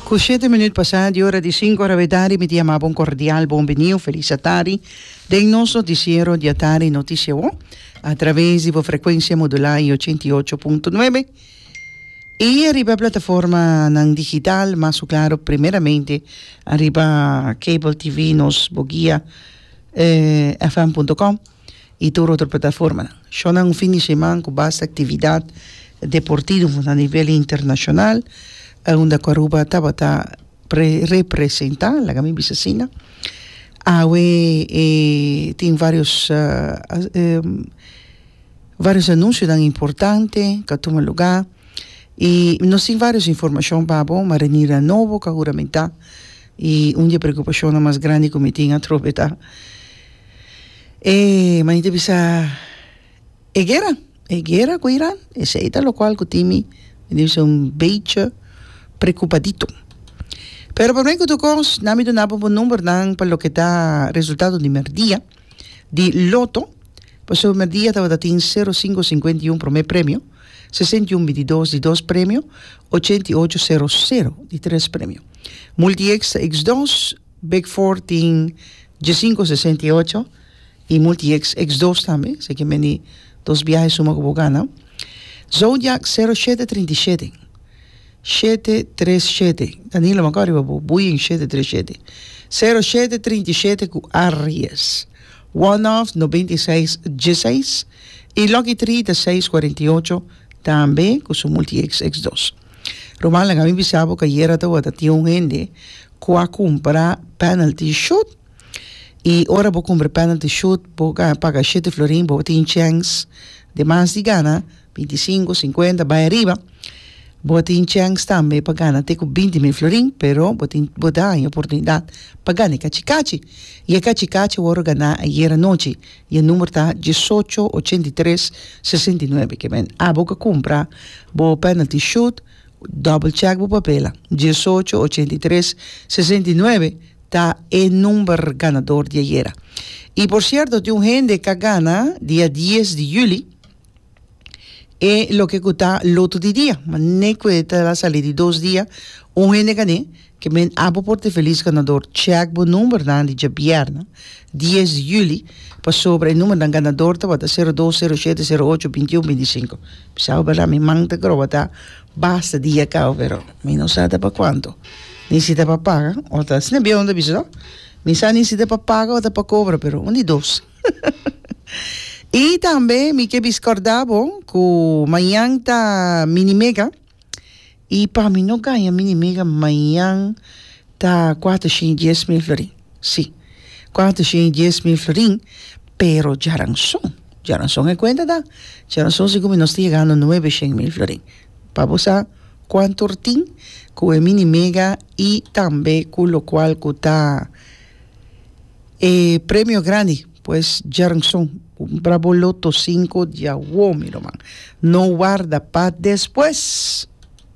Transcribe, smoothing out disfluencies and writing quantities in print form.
Ku shete minuut pasá di ora di sinku ora wetari mi ta yama bo un kordial bon bini un felis atari den nos notisiero di Atari Notisia Wo a traves di bo frekuensia modulá i 88.9 i ariba e plataformanan digital mas ku klaro primeramente ariba cable TV nos bo guia fm punto com. i tur otro plataformanan. Shownan un fin di siman ku basta aktividat deportivo na nivel internashonal unda ku Aruba tabata representá, laga mi bisa asina. Awe e tin varios varios anunsionan importante ku a tuma lugá i nos tin varios informashon pa bo, marinera nobo ku a huramentá i un di e preokupashonnan mas grandi ku mi tin atrobe ta. E manita ta bisa, E guera, e guera ku Iran, esei ta lokual ku tin mi, mi ta bisa un bechi preocupadito. Pero promé ku tur kos, nan mi duna bo bo numbernan pa loke ta resultado di merdia di loto, pasobra merdia tabata tin sero sinku sinkuenta i un promé premio, 61 bintidos di dos premio, 88 sero sero di tres premio. Multi-X ta X dos. Big Four tin diesinco sesenta i ocho y Multi X X dos tambe, así que meni dos biaha e suma cu bo gana. Zodiac sero shete trinta i shete, shete tres shete, Danilo mi a riba bo buyen shete tres shete, sero shete trinta i shete cu Aries. One Off nobenta i seis dieseis y Lucky Tree ta seis cuarenta i ocho tambe cu su Multi X X dos. Ruman laga mi bisa bo cu ayera tabata tin un hende Ku a kumpra penalty shoot i ora bo kumpra penalty shoot bo paga shete florin bo tin chèns demas di gana bintisinku sinkuenta bai ariba bo tin chèns tambe pa gana te ku 20.000 florin pero bo tin bo ta haña oportunidat pa gana e kachikachi i e kachikachi wòrdu ganá ayera nochi i e number ta diesocho 83 69 ke men abo ku a kumpra bo penalty shoot. Double check bo papelnan. 18 83 69 ta e number ganador di ayera. Y por cierto tin un hende ka gana dia 10 di juli e loke ku ta loto di dia. Mane ku e ta sali di dos dia un hende gané ke men abo por ta e feliz ganador. Check bo numbernan di djabièrnè 10 di juli pasobra e numbernan ganador tabata 02 07 08 21 25. Bisa bo berdad mi man ta groba ta basta dia caba pero mi no sa ta pa cuanto ni si ta pa paga o ta asina bien ta bisa no mi sa ni si ta pa paga o ta pa cobra pero un di dos y tambe mi ke bisa corda bo cu mañan ta mini mega y pa mi no gaña mini mega mañan ta cuatro shin y dies mil florin si cuatro shin y dies mil florin pero djaranson. Djaranson e kuenta ta, djaranson segun mi nos ta yegando nuebe shen mil florin. Pa bo sa kuantu tin ku e mini mega i tambe ku lokual ku ta e premio grandi. Pues djaranson kumpra bo loto sinku djawo mi ruman. No warda pa despues.